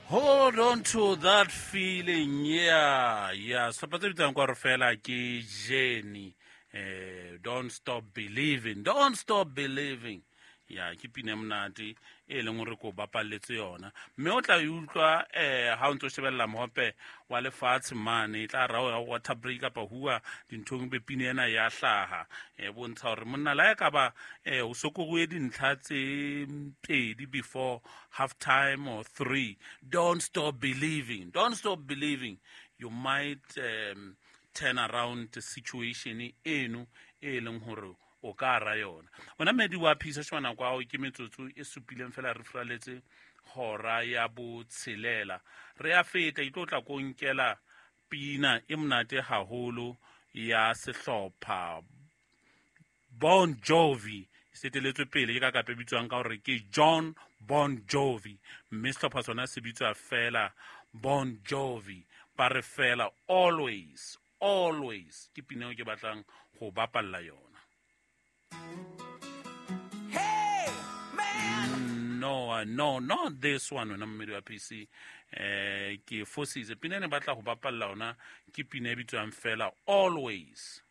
Hold on to that feeling. Yeah, sehlopha tse bitsang kwa re fela ke Jenny. Don't stop believing, don't stop believing. Ya, ke pina e monate e leng gore ko bapalletse yona, mme o tla e utlwa ha o ntse o shebelela mohope wa lefatshe mane, e tla rao ya water break kapa hua dinthong, be pina ena ya hlaha, e bontsha hore monna la e ka ba o sokoruwe dintlha tse pedi before half time or three. Don't stop believing, don't stop believing. You might turn around the situation eno e leng hore o ka ra yona. Wena medi wa phisa shwana kwao, ke metsotso e supileng fela re furaletse hora ya botshelela, re a feta. E tlo tla ko nkela pina e monate haholo ya sehlopha Bon Jovi, seteletswe pele ke ka kape bitswang ka hore ke John Bon Jovi, mme sehlopha sona se bitswa fela Bon Jovi. Ba re fela Always, Always, ke pina eo ke batlang go bapalla yona. Hey, man! No, not this one, wena mmedi wa PC. Ke fositse. Pina e ne batla go bapalla yona ke pina e bitswang fela Always.